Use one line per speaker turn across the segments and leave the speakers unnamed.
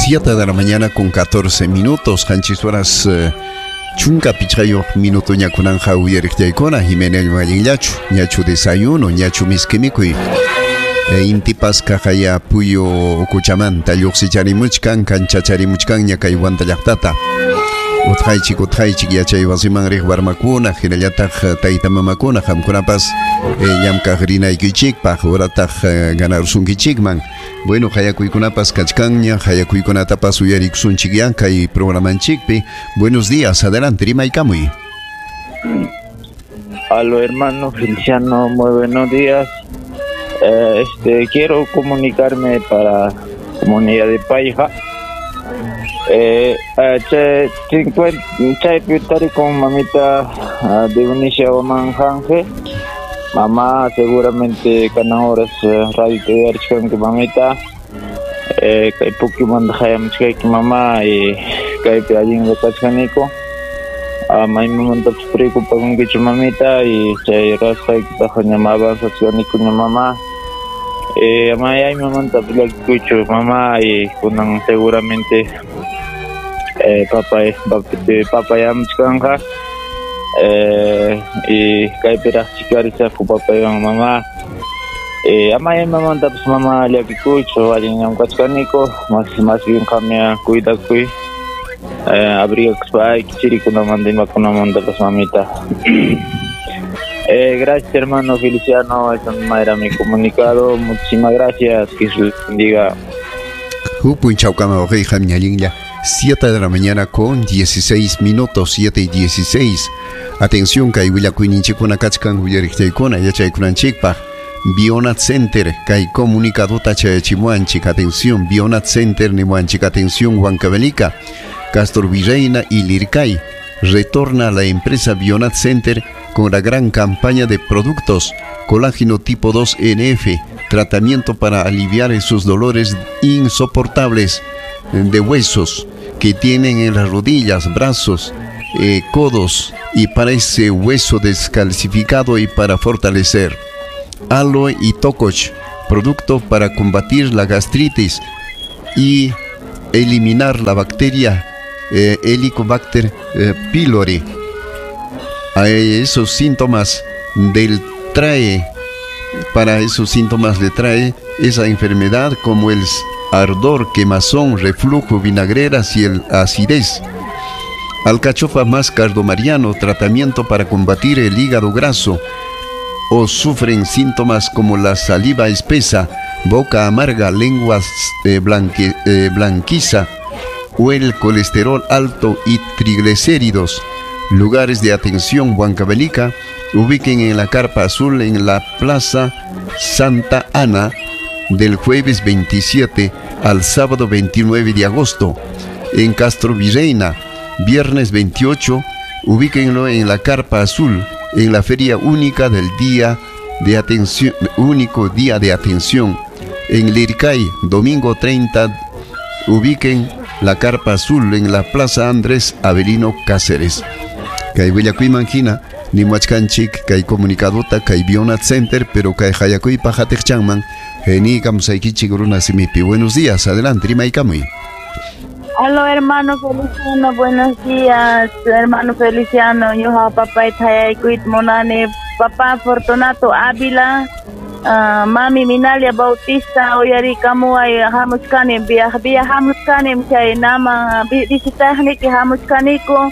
7 de la mañana con 14 minutos, qanchis horas chunka pichqayuq minuto ñakunanja uyariqllaykuna Jiménez allinllachu, ñachu desayuno, ñachu miski mikuy. Intipas kaqaya puyu ukuchamanta lluqsicharimuchkan, kanchacharimuchkanña kay Huanta llaqtata. Utqaychik, utqaychik yachay wasiman riq warmakuna, hinallataq tayta mamakuna, qamkunapas llamkaq rinaykichikpaq, urataq ganarsunkichikman. Bueno, hayakuykunapas kachkanña, hayakuykunatapas uyarikusunchik ya kay programanchikpi. Buenos días, adelante, rimaykamuy.
Aló, hermano Feliciano, muy buenos días. Quiero comunicarme para comunidad de Paija. Chaypi con mamita Dionisia Oman Janje. Mamá seguramente kanan horas radio te que mamita. Kay puki manda hayamchkayki mamá y kaypi allin kachkaniko. Maymantapas preocupakunkichu mamita y chay rasqaykitaqa ña avanzachkaniko ña mamá. Maymantapas llakikuychu mamá y kunan seguramente papayamchkanqa. Y kaypiraqchi karisaqku papaywan mamá. Amaymantapas mamá llakikuychu allin llamk'achkaniko, más bien qamya cuidakuy. Abrigakuspa chirikunamanta imakunamantapas mamita. Gracias, hermano Feliciano, esa era mi comunicado. Muchísimas gracias, que Dios bendiga.
7 de la mañana con 16 minutos, 7:16. Atención, kay willakuyninchikuna kachkan uyariqchaykuna yachaykunanchikpaq. Bionat Center, kay comunicadota chayachimuanchik. Atención, Bionat Center nimuanchik. Atención, Huancavelica, Castor Virreina y Lircay. Retorna a la empresa Bionat Center con la gran campaña de productos colágeno tipo 2 NF, tratamiento para aliviar esos dolores insoportables de huesos que tienen en las rodillas, brazos, codos, y para ese hueso descalcificado y para fortalecer. Aloe y Tococh, producto para combatir la gastritis y eliminar la bacteria Helicobacter pylori. A esos síntomas del trae, para esos síntomas le trae esa enfermedad como el ardor, quemazón, reflujo, vinagreras y el acidez. Alcachofa más cardomariano, tratamiento para combatir el hígado graso o sufren síntomas como la saliva espesa, boca amarga, lengua blanquiza o el colesterol alto y triglicéridos. Lugares de atención Huancavelica, ubiquen en la Carpa Azul en la Plaza Santa Ana del jueves 27 al sábado 29 de agosto. En Castro Virreina, viernes 28, ubíquenlo en la Carpa Azul, en la feria única del día de atención, único día de atención. En Lircay, domingo 30, ubiquen la Carpa Azul en la Plaza Andrés Avelino Cáceres. Kay willakuyman hina, nimuachkanchik, kay comunicadota, kay Bionat Center, pero kay hayakuypa hatiqchanman, geniikamusaykichik runa simipi. Buenos días, adelante, rimaykamuy.
Aló, hermano Feliciano, buenos días, hermano Feliciano. Yo papá y monani, papá Fortunato Ávila, mami Minalia Bautista, oyarikamuay hamuchkani, viajamuchkani, chay nama visitajniki hamuchkaniku.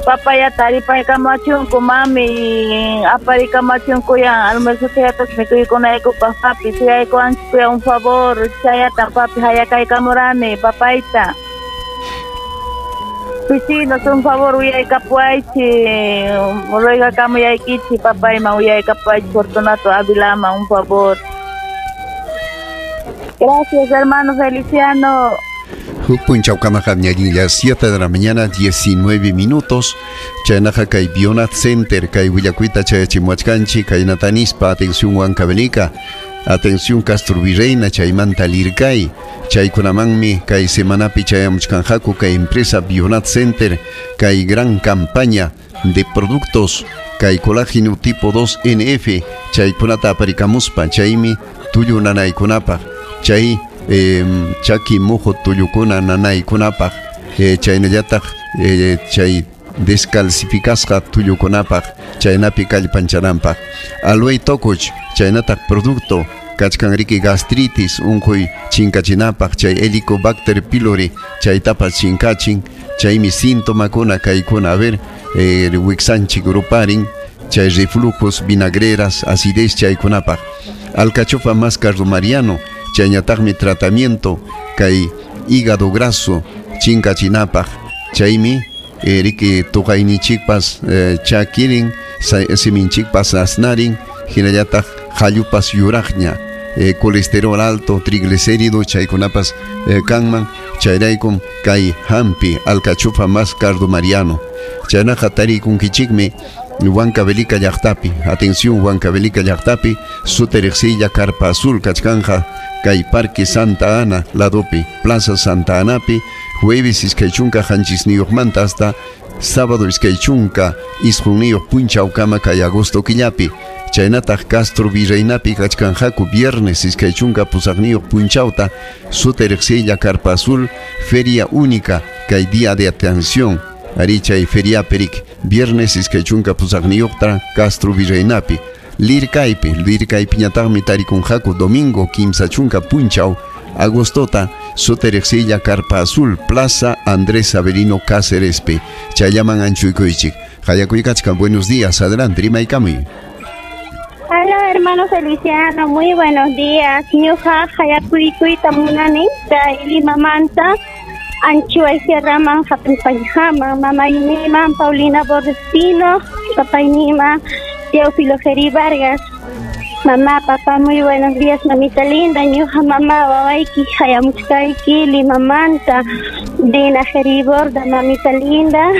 Papaya taripaykamachunku, mami aparikamachunku ya almuerzo chayatas mikuykunayku papi, suyaykuanchik un favor, chayata papi hayakaykamurani, papayta. Vecinos, un favor, uyaykapuaychi, ruegakamuyaykichi, papayman uyaykapuaychi, Fortunato Avilama, un favor. Gracias, hermano Feliciano.
Punchaucamaja, 7 de la mañana, 19 minutos. Chaynaja kay Bionat Center, kay Willakuita chayachimuachkanchi, kay Natanispa, atención Huancavelica, atención Castro Virreina, chaymanta Lircay, chaykunamanmi, kay semanapi chayamuchkanjaku, kay empresa Bionat Center, kay gran campaña de productos, kay colágeno tipo 2 NF, chaykunata aparikamuspa, chaymi tullu nanaykunapaq, chay Chaki muhu tullukuna nanaykunapaq, chaynallataq chay descalcificasqa tullukunapaq, chaynapi kallpanchananpaq. Aloe tokuch chaynataq producto kachkan riki gastritis unquy chinkachinapaq, chay Helicobacter pylori chaytapas chinkachin, chaymi sintomakuna kaykuna, a ver, wiksanchik ruparin, chay reflujos, vinagreras, acidez chaykunapaq. Alcachofa más cardomariano, chayñataqmi tratamiento kay hígado graso chinkachinapaq, chaymi riki tuqayninchikpas chakirin, siminchikpas asnarin, hinallataq qallupas yuraqña, colesterol alto, triglicérido chaykunapas kanman, chayraykum kay hampi alcachofa más cardomariano. Chaynaqa tarikunkichikmi Huancavelica llaqtapi, atención, Huancavelica llaqtapi, suteriqsilla Carpa Azul kachkanja kay Parque Santa Ana ladopi, Plaza Santa Anapi, jueves 27 manta hasta sábado 29 punchawkama kay agosto killapi. Chaynataq Castro Virreinapi kachkanqaku viernes 28 punchawta, suteriqsilla Carpa Azul, feria única kay día de atención. Ari chay feria perik viernes 28ta Castro Virreinapi. Lircaypi, Lircaypiñataqmi tarikunqaku domingo 30 punchaw agostota, suteriqsilla Carpa Azul, Plaza Andrés Avelino Cácerespi. Chayllaman anchuykuychik. Hayakuykachkan, buenos días, adelante, rimaykamuy.
Hola, hermano Feliciano, muy buenos días. Ñuqa hayakuykuyta munani, Limamanta, Anchuay Sierraman, Hatun mamayniman, Paulina Borrespino, papaynima, Teófilo Geri Vargas. Mamá, papá, muy buenos días, mamita linda, ñuqa mamá, wawayki, hayamuchkayki, Limamanta, Dina Geri Borda, mamita linda.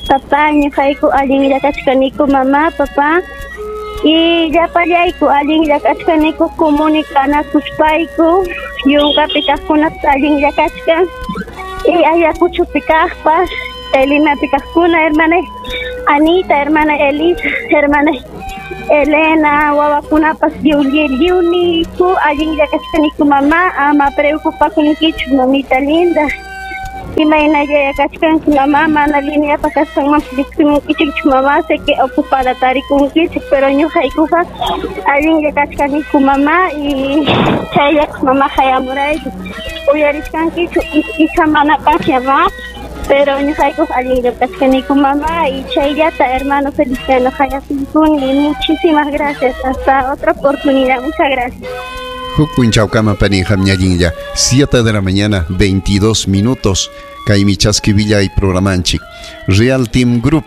Papá, ñuqayku allinlla kachkaniku, mamá, papá. Y llapallayku allinlla kachkaniku comunicanakuspayku, yunkapi kaqkunapas allinlla kachkan. Y Ayacuchopi kaqpas, Limapi kaqkuna, hermana Anita, hermana Elisa, hermana Elena, wawakunapas lliwniku allinlla kachkaniku, mamá, ama preocupakunkichu, mamita linda. Imaynalla kachkanki, mamá, mana lineapa kasqanmanpas riqsimunkichikchu, mamá, sé que ocupada tarikunkichik, pero ñuqaykuqa allinlla kachkaniku, mamá, y chaylla mamá hayamurayku. Uyarichkankichu icha manapasña, ma, pero ñuqaykuqa allinlla kachkaniku, mamá, y chayllata, hermano Feliciano, hayakuykuni. Muchísimas gracias, hasta otra oportunidad, muchas gracias.
Huk punchawkama pani, qam allinlla. 7 de la mañana, 22 minutos. Kaymi chaski y programanchik. Real Team Group,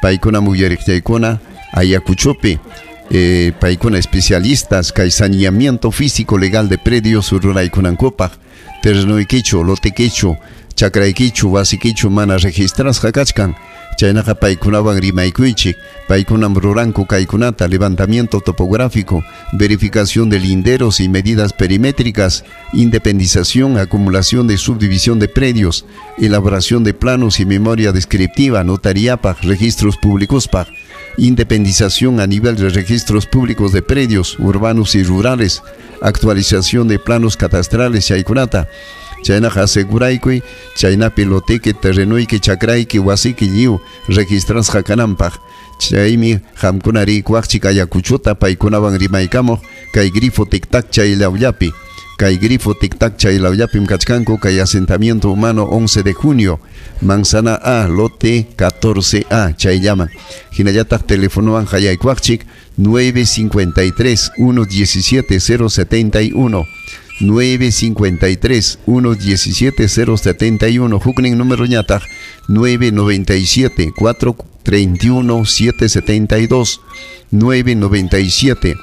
paykuna muyariqtaykuna, Ayacuchopi, paykuna especialistas, kay saneamiento físico legal de predios ruraykunankupaq, terrenoykichu, lotekichu, chakraykichu, wasikichu mana registrasqa kachkan. Chaynaqa paykunawan rimaykuychik, paykunam ruranku kaykunata: levantamiento topográfico, verificación de linderos y medidas perimétricas, independización, acumulación de subdivisión de predios, elaboración de planos y memoria descriptiva, notariapaq, registros públicos paq, independización a nivel de registros públicos de predios urbanos y rurales, actualización de planos catastrales chaykunata. Chaynaqa aseguraykuy chaynapi loteki, terrenoyki, chakrayki, wasiki lliw registrasqa kananpaq. Chaymi qamkuna riykuwaqchik Ayacuchota paykunawan rimaykamuq kay grifo tic-tac chaylawllapi. Kay grifo tic-tac chaylawllapim kachkanku kay asentamiento humano 11 de junio, manzana A, lote 14A, chayllaman. Hinallataq telefonowan hayaykuwaqchik 953 117 071, 953 117 071. Huknin número ñataq 997 431 772, 997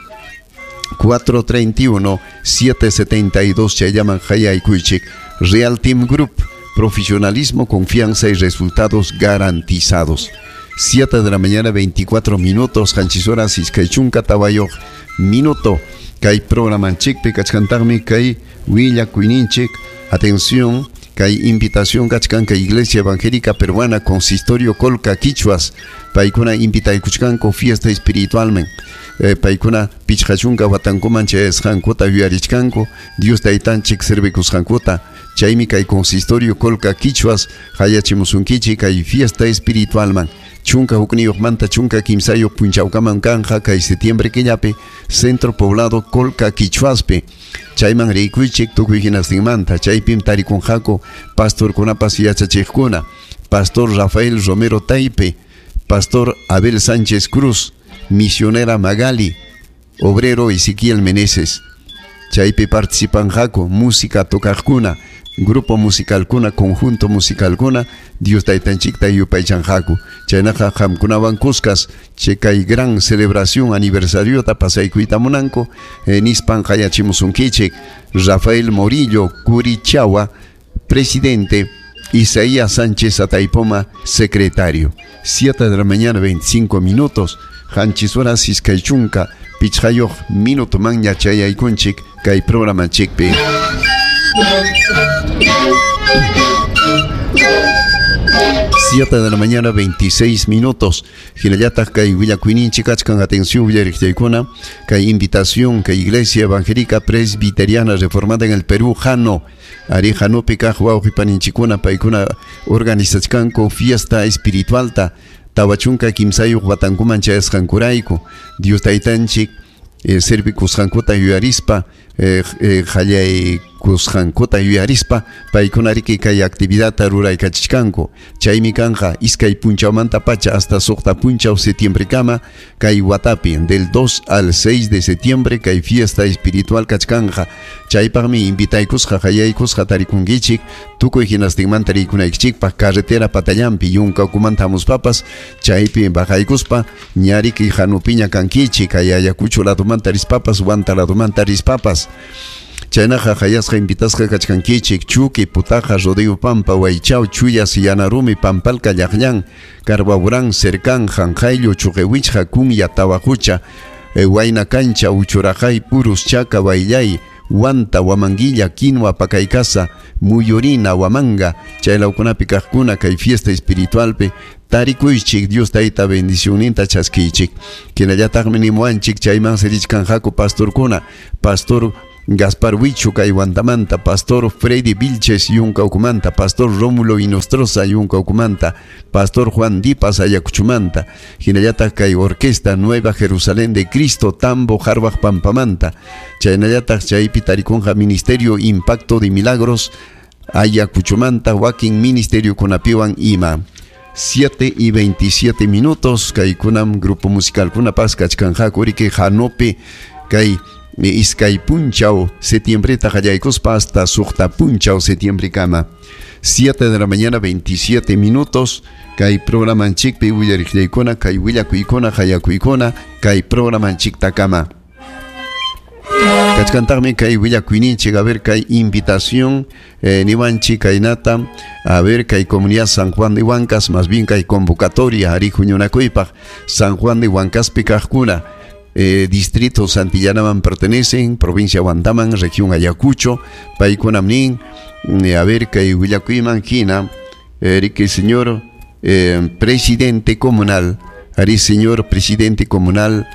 431 772. Chayllaman hayaykuychik. Real Team Group, profesionalismo, confianza y resultados garantizados. 7 de la mañana, 24 minutos, 7 horas 24 minuto. Kay programanchikpi kachkantaqmi kay willakuyninchik. Atención, Kay invitación kachkan kay Iglesia Evangélica Peruana Consistorio Colca Quichuas paykuna invitaykuchkanku fiesta espiritualman. Paykuna pichqachunka watankuman chayasqankuta yuyarichkanku Dios taytanchik servikusqankuta. Chaymi kay Consistorio Colca Quichuas hayachimusunkichik kay fiesta espiritualman. Chunka hukniyuqmanta chunka kimsayuq punchawkaman kanja kay septiembre killapi Centro Poblado Colca Quichuaspi. Chayman rikuychik tukuy hinastinmanta chaypim tarikunqaku pastorkunapas yachachiqkuna. Pastor Rafael Romero Taipe, Pastor Abel Sánchez Cruz, Misionera Magali, Obrero Ezequiel Meneses. Chaypi participanqaku música tocaqkuna, grupo musicalkuna, conjunto musicalkuna, Dios taytanchikta yupaychanqaku. Chaynaqa qamkunawan kuskas chay kay gran celebración aniversariota pasaykuyta munanku, nispan qayachimusunkichik. Rafael Morillo Curichawa, presidente, Isaías Sánchez Ataipoma, secretario. 7 de la mañana, 25 minutos. Qanchis horas iskay chunka pichqayuq minuto manña chayaykunchik kay programa chikpi. 7 de la mañana, 26 minutos. Hinallataq kay willakuyninchik kachkan, atención willariqchaykuna, kay invitación kay Iglesia Evangélica Presbiteriana Reformada en el Perú, Jano. Ari Janopi kaq wawqipaninchikuna paykuna organizachkanku fiesta espiritualta tawachunka kimsayuq watankuman chayasqankurayku. Dios taytanchik servikusqankuta yuyarispa, qallaykusqankuta yuyarispa, paykuna riki kay actividadta ruraykachichkanku. Chaymi kanja iskay punchawmanta pacha hasta suqta punchaw septiembrekama kay watapi del 2 al 6 de septiembre kay fiesta espiritual kachkanja. Chaypaqmi invitaykusqa qallaykusqa tarikunkichik tukuy hinastinmanta rikunaykichikpaq carretera patallampi yunka ukumanta hamuspapas chaypi bajaykuspa ñariki hanupiña kankichik kay Ayacucho ladumanta rispapas Huanta ladumanta rispapas. Chaynaqa hayasqa invitasqa kachkankichik Chuqui, Putaja, Rodeo Pampa, Huaychao, Chuyas, Yanarumi, Pampalca, Llaqllan, Carbaurán, Cercán, Janjayllo, Chuqewichqa, Kunya, Tawajucha, Huayna Cancha, Uchurajay, Purus, Chaca, Baillay, Huanta, Huamanguilla, Quinua, Pacaycasa, Muyurina, Huamanga, chaylawkunapi kaqkuna kay fiesta espiritualpi tarikuychik Dios tayta bendicionninta chaskichik. Hinallataqmi nimuwanchik chayman serichkanqaku pastorkuna, Pastor Gaspar Huichu kay Huantamanta, Pastor Freddy Vilches yunka ukumanta, Pastor Rómulo Inostroza yunka ukumanta, Pastor Juan Dipas Ayacuchumanta, hinallataq kay Orquesta Nueva Jerusalén de Cristo Tambo Jarbaj Pampamanta, chaynallataq chaypi tarikunqa Ministerio Impacto de Milagros Ayacuchumanta, wakin Ministerio kunapiwan ima. 7 y 27 minutos, kay kunam grupo musical kunapas kachkanqaku riki Janopi kay iskay punchaw septiembreta qallaykuspa hasta suqta punchaw septiembrekama. 7 de la mañana, 27 minutos, kay programanchikpi willariqllaykuna, kay willakuykuna, hayakuykuna, kay programanchiktakama. Kachkantaqmi kay willakuyninchik, a ver kay invitación niwanchik kaynata, a ver kay comunidad San Juan de Huancas, más bien kay convocatoria ari huñunakuypaq San Juan de Huancaspi kaqkuna. Distrito Santillanaman pertenecen, provincia Huantaman, región Ayacucho, paykunam nin, a ver kay willakuyman hina, riki señor presidente comunal, ari señor presidente comunal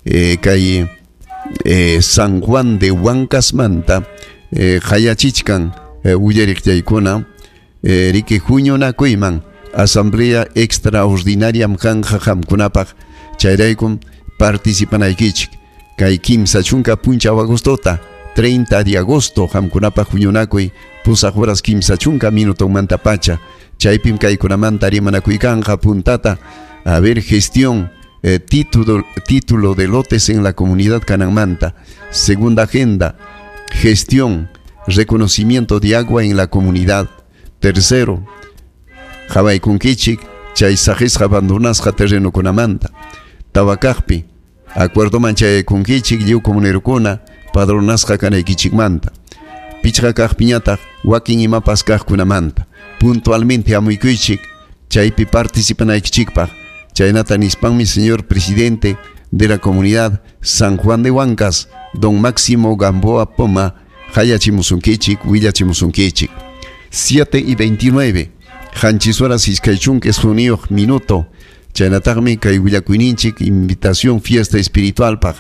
kay San Juan de Huancasmanta, hayachichkan willariqchaykuna, riki huñunakuyman asamblea extraordinaria kanja qamkunapaq, chayraykum participanaykichik kay kimsa chunka punchaw agostota 30 de agosto qamkunapaq huñunakuy pusaq horas kimsa chunka minutomanta pacha, chaypim kaykunamanta rimanakuykanqa puntata, a ver gestión título de lotes en la comunidad Cananmanta, segunda agenda gestión reconocimiento de agua en la comunidad, tercero qhawaykunkichik chay saqisqa abandonasqa terrenokunamanta, tawakaqpi acuerdoman chayaykunkichik lliw comunerukuna padronasqa kanaykichikmanta, pichqa kaqpiñataq wakin imapas kaqkunamanta puntualmente hamuykuychik chaypi participanaykichikpaq. Chaynata nispanmi señor presidente de la comunidad San Juan de Huancas, don Máximo Gamboa Poma, hayachimusunkichik, willachimusunkichik. 7:29. Qanchis horas iskay chunka isqunniyuq minuto. Chaynataqmi kay willakuyninchik invitación fiesta espiritualpaq.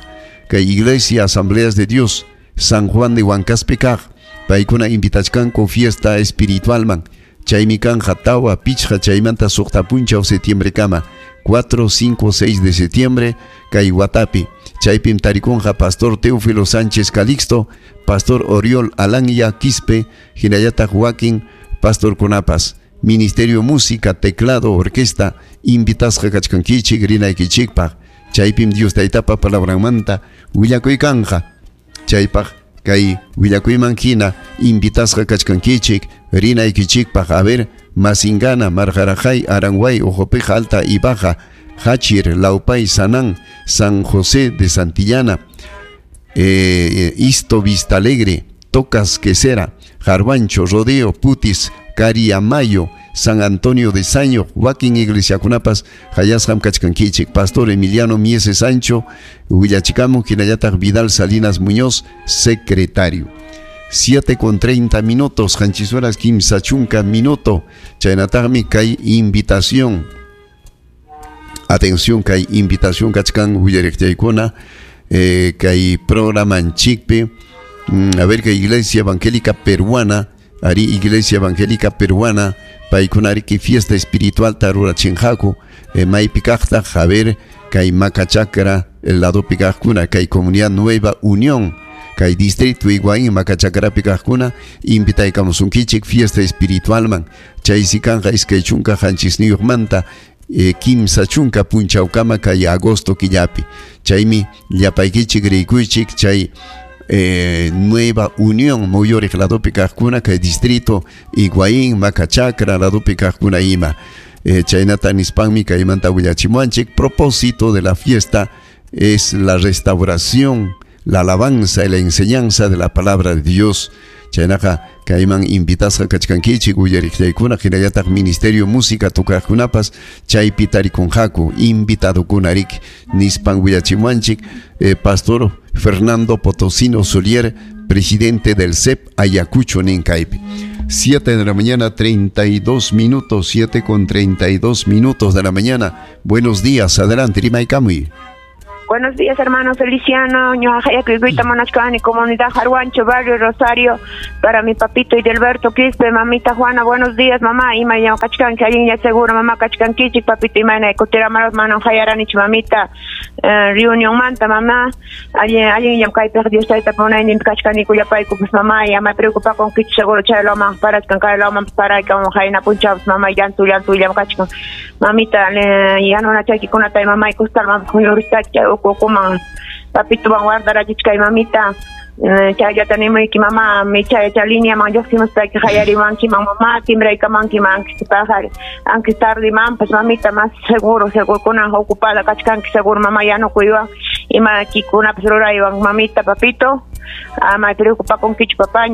Kay Iglesia Asambleas de Dios San Juan de Huancaspi kaq. Paykuna invitachkanku fiesta espiritualman. Chaymi kanja tawa pichqa chaymanta suqta punchaw septiembre kama. 4, 5, 6 de septiembre kay watapi. Chaypim tarikunqa Pastor Teófilo Sánchez Calixto, Pastor Oriol Alanya Quispe, hinallataq wakin Pastor kunapas. Ministerio Música, Teclado, Orquesta, invitasqa kachkankichik rinaykichikpaq. Chaypim Dios taytapa palabranmanta willakuykanja. Chaypaq kay willakuyman hina invitasqa kachkankichik rinaykichikpaq. A ver, Masingana, Marjarajay, Aranguay, Ojopeja Alta y Baja, Hachir, Laupay, Sanán, San José de Santillana, Isto Vista Alegre, Tocas Quesera, Jarvancho, Rodeo, Putis, Cariamayo, San Antonio de Saño, wakin iglesiakunapas, hayasqam kachkankichik, Pastor Emiliano Mieses Sancho, willachikamun, hinallataq Vidal Salinas Muñoz, secretario. 7:30, qanchis horas kimsa chunka minuto, chaynataqmi kay invitación. Atención, kay invitación kachkan willariqchaykuna, kay programanchikpi, a ver, kay Iglesia Evangélica Peruana, ari Iglesia Evangélica Peruana, paykuna ariki fiesta espiritual tarurachinqaku, maypi kaqtaq, a ver, kay Macachacra, el ladopi kaqkuna, kay Comunidad Nueva Unión, kay Distrito Higuaín, Macachacrapi kaqkuna, invitaykamusunkichik fiesta espiritualman, chaysi kanqa iskay chunka qanchisniyuqmanta, kimsa chunka punchawkama kay agosto killapi. Chaymi llapaykichik rikuychik chay Nueva Unión muyuriq ladopi kaqkuna kay Distrito Higuaín, Macachacra ladopi kaqkuna ima. Chaynata nispanmi kaymanta willachimuanchik. Propósito de la fiesta es la restauración, la alabanza y la enseñanza de la palabra de Dios. Chaynaqa kayman invitasqa kachkankichik uyariqllaykuna hinallataq Ministerio Música tukaqkunapas chaypi tarikunqaku invitadokuna riki nispan willachimuanchik, Pastor Fernando Potosino Solier, presidente del CEP Ayacucho nin kaypi. 7 de la mañana, 32 minutos, 7:32 de la mañana. Buenos días, adelante, Rimaykamuy.
Buenos días, hermano Feliciano, ñuqaqa munachkani, comunidad Jarhuancho, barrio Rosario, para mi papito Idelberto Quispe, mamita Juana, buenos días, mamá, ima ñuqachkanki, allinlla seguro, mamá kachkankichik, papito imayna kutiramaros manan hayaranich, mamita, reunión manta, mamá, allinllam kaypiq Dios tayta munayninpi kachkani kullapaykupas, mamá, ama preocupakunkichik seguro chaylaman parachkan, kaylaman paraykan, hayna punchawpas, mamá, llantu, llantullam kachkan, mamita, yanunachaykikunata, mamá, kustalman huñuristachka, ukuman papito van guardarachichkay mamita, chayllata nimuyki mamá, mi chaya línea man lluqsimuspayki hayarimankiman mamá, timbraykamankiman aunque aunque tarde mampas mamita, más seguro, seguro kunan ocupada kachkanki seguro mamá yanukuywan imakikunapas ruraywan mamita, papito, ama preocupakunkichu papá,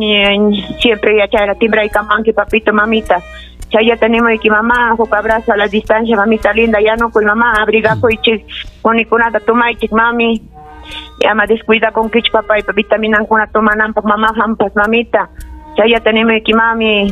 siempre yachayla timbraykamanki papito, mamita. Chayata nimuyki mamá, huk abrazo a la distancia, mamita linda, yanukuy mamá, abrigakuychik, kunikunata tumaychik mami, ama descuidakunkichu papaypa vitaminankuna tomananpaq mamá hampas mamita, chayata nimuyki mami.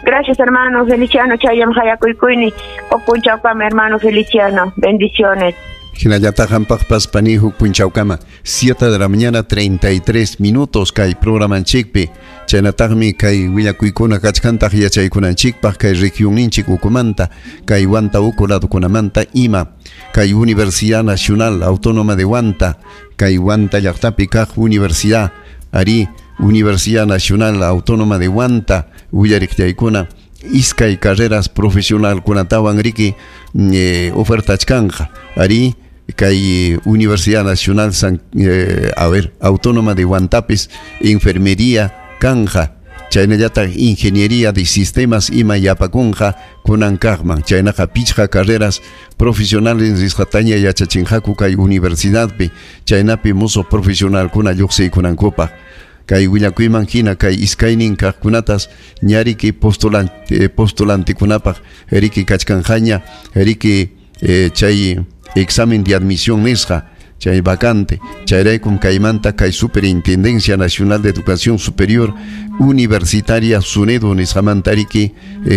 Gracias, hermano Feliciano, chayam hayakuykuyni, huk punchawkama, hermano Feliciano, bendiciones.
Hinallataq hampaqpas pani huk punchawkama, 7 de la mañana, 33 minutos, kay programanchikpi, chaynataqmi kay willakuykuna kachkantaq yachaykunanchikpaq kay regionninchik ukumanta, kay Huanta uku ladokunamanta ima, kay Universidad Nacional Autónoma de Huanta, kay Huanta llaqtapi kaq Universidad, ari Universidad Nacional Autónoma de Huanta, willariqllaykuna, iskay carreras profesional kunatawan riki ofertachkanja, ari kay Universidad Nacional Autónoma de Huantapis, enfermería kanja, chaynallataq ingeniería de sistemas ima yapakunqa kunan kaqman, chaynaqa pichqa carreras profesionales risqataña yachachinqaku kay universidadpi, chaynapi musuq profesionalkuna lluqsiykunankupaq. Kay willakuyman hina kay iskaynin kaqkunatas ñariki postulantikunapaq riki kachkanqaña, riki chay examen de admisión nisqa, chay vacante. Chayraykum kaymanta kay Superintendencia Nacional de Educación Superior Universitaria SUNEDU nisqamanta riki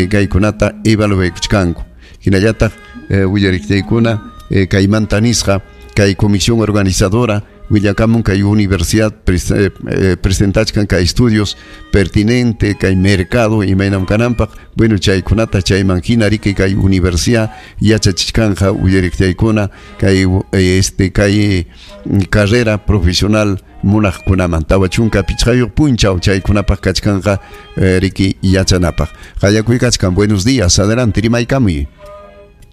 kaykunata evaluaykuchkanku. Hinallataq willariqtaykuna kaymanta nisqa kay comisión organizadora willakamun kay universidad presentachkan kay estudios pertinente kay mercado imaynam kananpaq. Bueno, chaykunata chayman hina riki kay universidad yachachichkanja willariqtaykuna kay kay carrera profesional munaqkunaman 45 punchaw chaykunapaq kachkanqa riki yachanapaq. Qallakuy kachkan. Buenos días, adelante, rimaykamuy.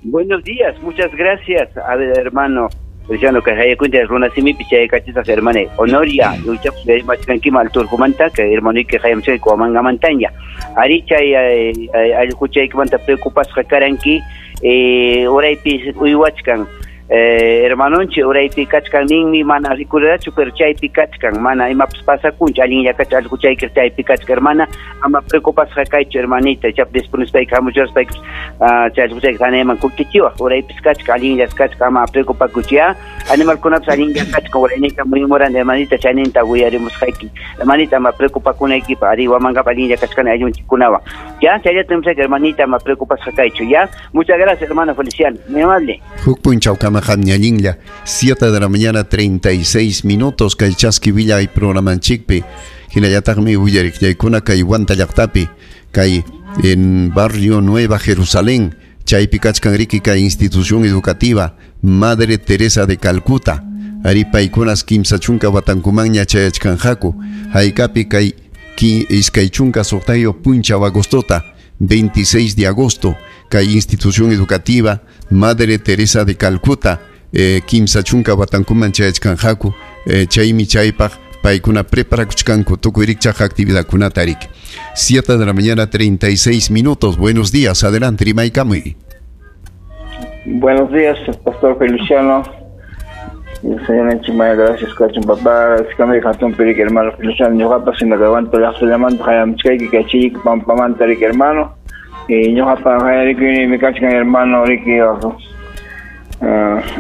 Buenos días, muchas gracias, a ver, hermano Feliciano, que haya cuenta runasimipi chay kachisaq hermane Honoria, yuchaq mal turjumanta, que hermano que haya chay kuamangamantaña. Ari chay allquchaykimanta preocupasqa karanki, uraypi uywachkan. Hermanonchi uraypi kachkan ninmi mana rikurirachu, pero chaypi kachkan mana imapas pasakunchu allinlla kacha allquchayki chaypi kachkan hermana, ama preocupasqa kaychu hermanita, chap disponispayki hamuchaspayki chay allquchayki hanayman kutichiwaq uraypis kachkan allinllas kachkan ama preocupakuchu ya, animalkunapas allinlla kachkan urayninta muyumuran hermanita chayninta uyarimusqayki hermanita ama preocupakunaykipaq ari wamanqapa allinlla kachkan ayllunchikkunawan ya, chayllata nimusqayki hermanita ama preocupasqa kaychu ya. Muchas gracias hermano Feliciano, muy amable.
Huk punchawkama qamñallinlla, 7 de la mañana 36 minutos kay Chaski Villa y programanchikpi. Hinallataqmi willariqllaykuna kay Huanta llaqtapi kay en barrio Nueva Jerusalén chaypi kachkan riki kay institución educativa Madre Teresa de Calcuta. Ari paykunas 30 watankumanña chayachkanqaku haykapi kay 26 punchaw agostota 26 de agosto kay institución educativa Madre Teresa de Calcuta 30 watankuman chayachkanqaku chaymi chaypaq paykuna preparakuchkanku tukuy rikchaq actividadkunata riki. 7 de la mañana 36 minutos. Buenos días, adelante, rimaykamuy.
Buenos días, Pastor Feliciano. Señor Enchimaya, gracias, Kachun papá, gracias, Perique, hermano Feliciano, ñuqapas sinakawanto llaqtallamanta hayamchkayki kachiyki pampamanta riki hermano. Y ñuqapa hayarikuni mi kachkan hermano riki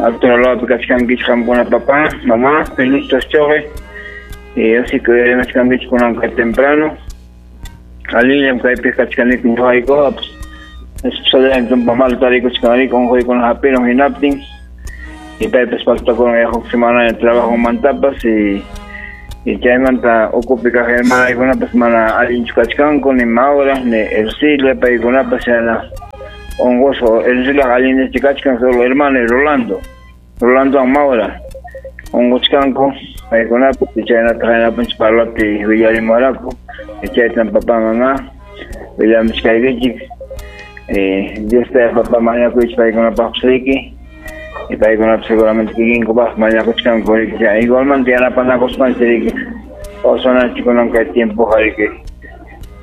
alto kachkankichik qamkuna papá, mamá, feliz choqi. Y así que machkankichik kunanka temprano. Alillam kaypi kachkaniki ñuqaykuqa pues tumpa mal tarikuchkanriki unquykuna hapirun hinaptin. Y paypas faltakun huk semana de trabajo mantapas y chaymanta ukupi kaq hermanaykunapas mana allinchu kachkanku ni Maura ni Ercilia paykunapas yana unqusqa Ercilia allinllachu kachkan solo hermano Rolando Rolandowan Maura unquchkanku paykunapas chaynata haynapunchik parlapi willarimuwaraku chaytan papá mamá willamuchkaykichik Dios te papá mañakuychik paykunapaqpas riki y paykunapas seguramente kikinkupaq mañakuchkanku riki igualmente yanapanakuspanchik riki kawsananchik kunan kay tiempoqa riki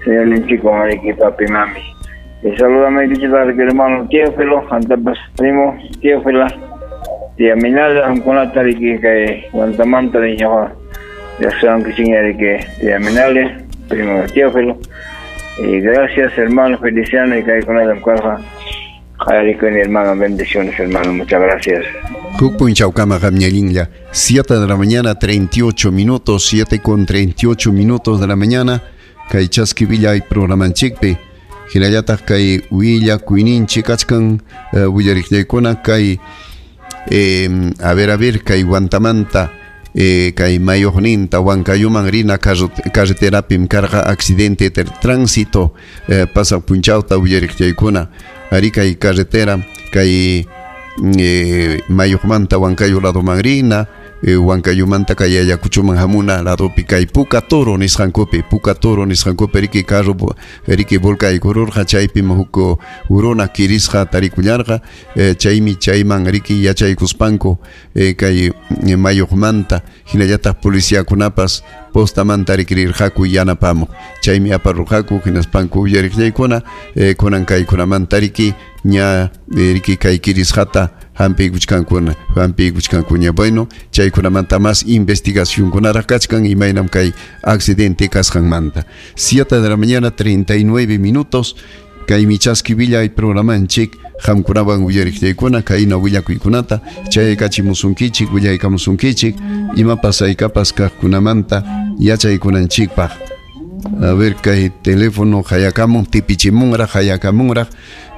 señor ninchikwan riki papi mami. Y saludamaykichik riki hermano Teófilo antapas primo Teófila tía Minala qamkunata riki kay Huantamanta ñuqa riqsiwankichikña riki tía Minala primo Teófilo. Y gracias hermano Feliciano y kaykunatam karqa Qayarikuni hermano, bendiciones hermano, muchas gracias.
Huk punchawkama qamñallinlla, 7 de la mañana 38 minutos, 7:38 minutos de la mañana, kay Chaski Villa y programanchikpi. Hinallataq kay willakuyninchik kachkan willariqllaykuna kay a ver kay Huantamanta kay Mayoqninta Huancayuman rina carreterapim karqa accidente de tránsito pasaq punchawta willariqllaykuna ari kay carretera kay Mayoqmanta Huancayo ladoman rina Huancayumanta kay Ayacuchoman hamuna ladopi kay Puka Toro nisqankupi Puka Toro nisqankupi riki carro riki volkaykururqa chaypim huk uruna kirisqa tarikullarqa chaymi chayman riki yachaykuspanku kay Mayoqmanta hinallataq policiakunapas postamanta rikirirqaku yanapamuq chaymi aparurqaku hinaspanku uyariqllaykuna kunan kaykunamanta riki ña riki kay kirisqata hampiykuchkankuña. Bueno, chaykunamanta más investigacionkunaraq kachkan imaynam kay accidente kasqanmanta. 7 de la mañana 39 minutos. Kaymi Chaski Villay programanchik qamkunawan uyariqtaykuna kayna willakuykunata chaykachimusunkichik, willaykamusunkichik imapas haykapas kaqkunamanta yachaykunanchikpaq. A ver, kay teléfono hayakamun, tipichimunraq, hayakamunraq,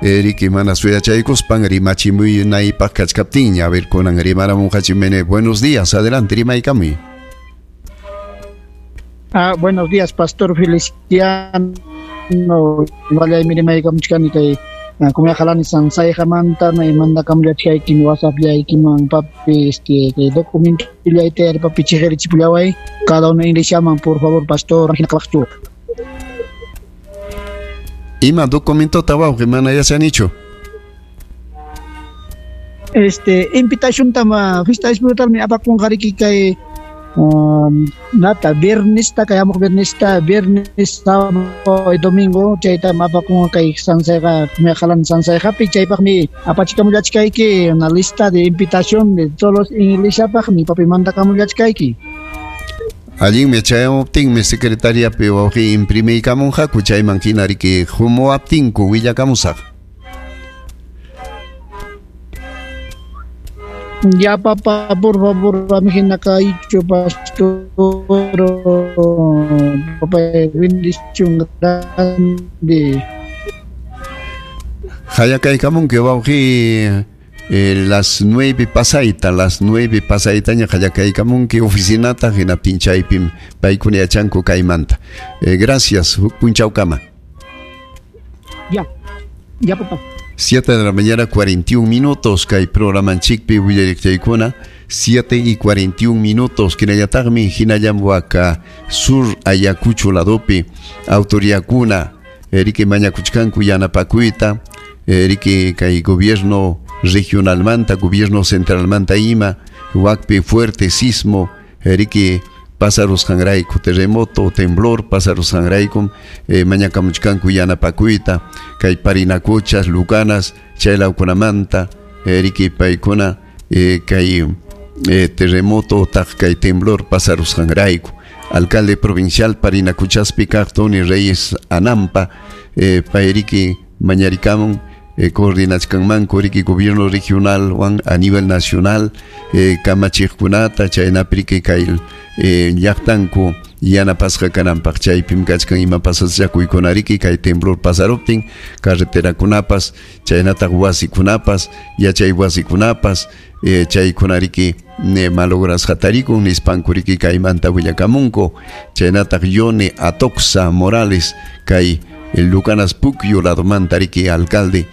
riki mana suyachaykuspan rimachimuynaypaq kachkaptinña. A ver, kunan rimaramunqachimene. Buenos días, adelante, rimaykamuy.
Ah, buenos días, Pastor Feliciano. Walay rimaykamuchkani kay kumayakalani Sansayjamanta mandakamllachkaykim WhatsApp-llaykiman papi kay documentollayta papi chiqirichipullaway cada uno llaman, por favor, pastor, hina kawaqchu.
Ima documentota, wawqi, mana yachanichu.
Invitación tama fiesta espiritual mi apakunqariki kay nata viernes ta kay amok viernes ta viernes, sábado y domingo chayta apakunqa kay Sansayqa kumiyaqalani Sansayqapi. Chaypaqmi apachikamulachkayki una lista de invitación de todos los iglesiapaqmi papi mandakamulachkayki.
Allinmi, chayamuptinmi secretariapi wawqi imprimiykamunqaku, chayman hina riki humuwaptinku willakamusaq.
Ya, papá, por favor, hina kaychu, pastor, papá, bendición grande.
Hayakaykamunki wawqi las 9 pasayta, las 9 pasaytaña hayakaykamunki oficinata, hinaptin chaypim paykuna yachanku kaymanta. Gracias, huk punchawkama.
Ya, ya, papá.
7 de la mañana, 41 minutos, kay programanchikpi willariqtaykuna, 7 y 41 minutos, kinallataqmi hinallam waka sur Ayacucho ladopi autoridadkuna riki mañakuchkanku yanapakuyta, riki kay gobierno regionalmanta, gobierno centralmanta ima, wakpi fuerte sismo, riki pasarusqanrayku, terremoto, temblor pasarusqanraykum, mañakamuchkanku yanapakuyta kay Parinacochas, Lucanas, chaylawkunamanta, riki paykuna kay terremoto taq kay temblor pasarusqanrayku. Alcalde provincial Parinacochaspi kaq Tony Reyes Anampa, payriki mañarikamun coordinachkanmanku riki gobierno regional wan a nivel nacional kamachiqkunata chaynapi riki kay llaqtanku yanapasqa kananpaq. Chaypim kachkan ima pasachakuykunariki kay temblor pasaruptin carreterakunapas chaynataq wasikunapas yachay wasikunapas chaykunariki malograsqa tarikun nispanku riki kaymanta willakamunku. Chaynataq Yone Atoxa Morales kay Lucanas Pucyo ladomanta riki alcalde.